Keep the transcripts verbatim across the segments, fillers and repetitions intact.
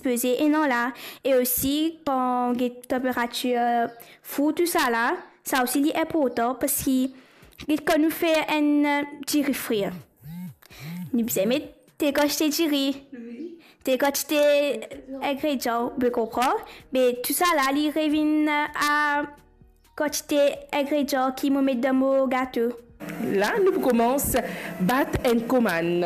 Peze enn an la, e osi kan get tanperatir four tousala, sa osi li inportan parski get kan nou fer enn, eh, diri frir, nou bizin met tel kantite diri, tel kantite ingredian, ou pe konpran? Me tousala li revinn a kantite ingredian ki mo met dan mo gato. La, nou pou koumans bat enn komann.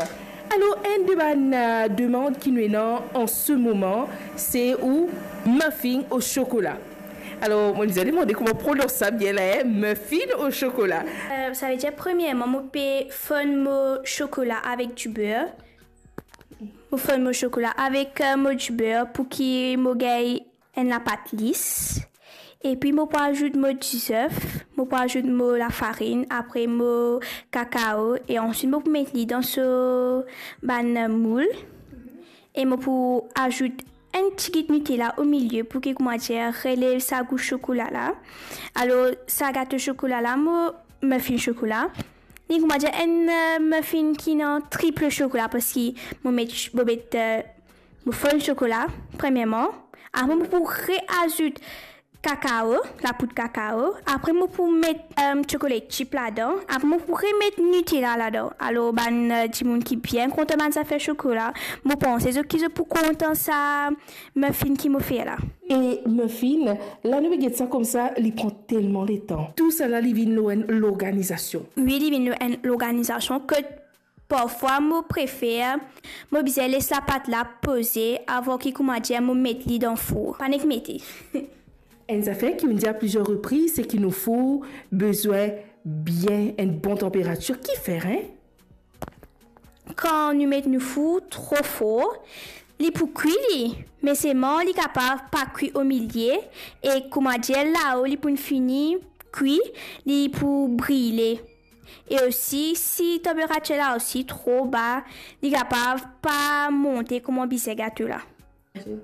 Alor, enn de bann, eh, demann ki nou ena an se moman, se ou muffin o sokola. Alor, mo bizin demande kouma prononse sa bien la, hein, muffin o sokola. Eh, savedir, premierman, mo pe fonn mo sokola avek diber. Mo fonn mo sokola avek, eh, mo diber pou ki mo gagn enn lapat lis. Epi mo pou azout mo dizef, mo pou azout mo lafarinn, apre mo kakao, e answit mo pou met li dan so bann moul. E mo pou azout enn tigit Nutella omilie pou ki, koumadir, relev sa gou sokola la. Alor, sa gato sokola la, mo muffin sokola, li, koumadir, enn, eh, muffin ki ena triple sokola, parski mo met, mo met, eh, mo fonn sokola, premierman. Apre, mo pou reazout kakao, lapoud kakao. Apre, mo pou met, eh, chocolate chip ladan. Apre, mo pou remet Nutella ladan. Alor, bann, eh, dimoun ki bien kontan bann zafer sokola, mo panse zot ki zot pou kontan sa muffin ki mo fer la. E muffin, la nou pe get sa koumsa, li pran telman letan. Tousala, li vinn lor enn lorganizasion. Wi, li vinn lor enn lorganizasion kot parfwa mo prefer, mo bizin les lapat la poze avan ki, koumadir, mo met li dan four. Pa nek mete. Enn zafer ki ou'nn dir a plizier repriz, se ki nou four bizin bien enn bon tanperatir. Kifer, hein? Kan nou met nou four tro for, li pou kwi li, me selman li kapav pa kwi omilie, e, koumadir, lao li pou fini kwi, li pou brile. E osi, si tanperatir la osi tro ba, li kapav pa monte kouma bizin gato la.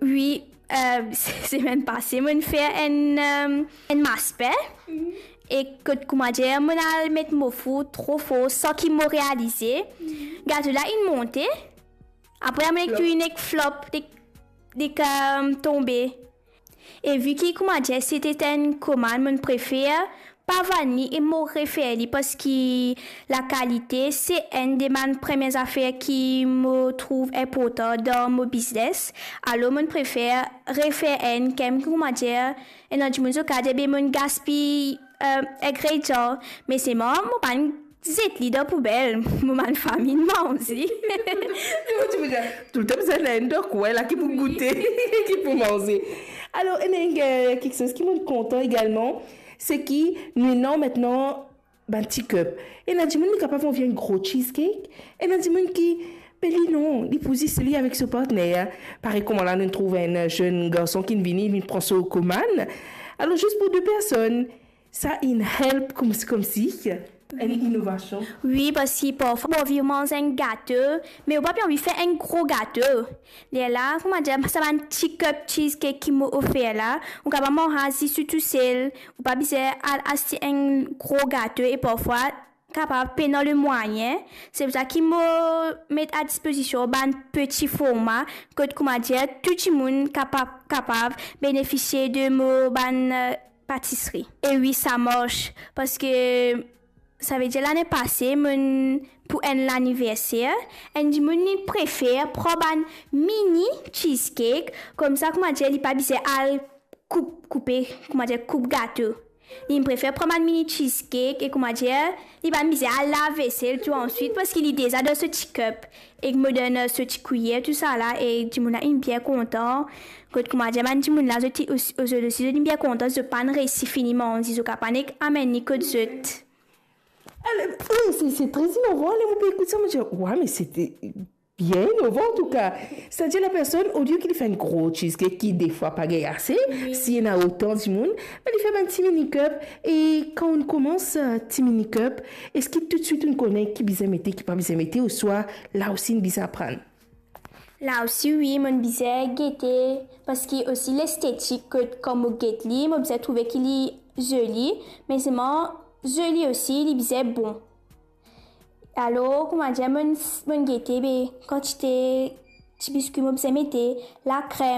Wi, eh, semenn pase, mo'nn fer enn, eh, enn maspin. E kot, koumadir, mo'nn al met mo four tro for san ki mo realize. Gato la inn monte. Apre, mo'nn nek tou nek flop, nek, nek, eh, tonbe. E vi ki, koumadir, se ti enn komann, mo'nn prefer pa vann li e mo refer li, parski lakalite se enn de bann premie zafer ki mo trouv inportan dan mo biznes. Alor, mo'nn prefer refer enn, koumadir, ena dimoun zot kapav dir, be, mo'nn gaspiy, eh, ingredian, me selman mo pa'nn zet li dan poubel, mo bann fami manze. Toultan bizin ena enn dan kwin la ki pou goute, ki pou manze. Alor, ena enn, eh, kiksoz ki mo'nn kontan egalman, se ki nou ena aster bann ti cup. Ena dimoun li kapav anvi enn gro cheesecake, ena dimoun ki, be li non, li pou zis li avek so partner. Parey kouma la nou trouv enn zenn garson ki'nn vini, li pran so komann. Alor, zis pou de personn, sa inn help koumsi, koumsi enn inovasion. Wi, parski parfwa ou anvi manz enn gato, me ou pa pe anvi fer enn gro gato. Lerla, koumadir, sa bann ti cup cheesecake ki mo ofer la, ou kapav manz li tou tousel, ou pa bizin al aste enn gro gato e parfwa kapav pena lemwayin. Se pou sa ki mo met a dispozision bann peti forma, kot, koumadir, tou dimoun kapav, kapav benefisie de mo bann, eh, patisri. E wi, sa mars, parski savedir lane pase, mo'nn, pou enn laniverser, enn dimoun li prefer pran bann mini cheesecake, koumsa, koumadir, li pa bizin al koup, koupe, koumadir, koup gato. Li prefer pran bann mini cheesecake e, koumadir, li pa bizin al lav vesel tou answit, parski li deza dan so ti cup. Ek mo donn so ti kwiyer, tousala, e dimoun la inn bien kontan. Kot, koumadir, bann dimoun la, zot ti osi, zot osi, zot inn bien kontan, zot pa'nn resi fini manze, zot kapav nek amenn li kot zot. Alor, wi, se, se tre inovan. Ler mo pe ekout sa, mo dir, wa, me se te bien inovan, antouka. Setadir, lapersonn, olie ki li fer enn gro cheesecake ki defwa pa gagn ase, wi, si ena otan dimoun, me li fer bann ti mini cup. E kan ou'nn koumans, eh, ti mini cup, eski toutswit ou'nn kone ki bizin mete, ki pa bizin mete, ouswa la osi ou'nn bizin aprann? La osi, wi, mo'nn bizin gete, parski osi lestetik, kot kan mo get li, mo bizin trouve ki li zoli, me selman zoli osi, li bizin bon. Alor, koumadir, mo'nn, mo'nn gete, be, kantite ti biskwi mo bizin mete, lakrem.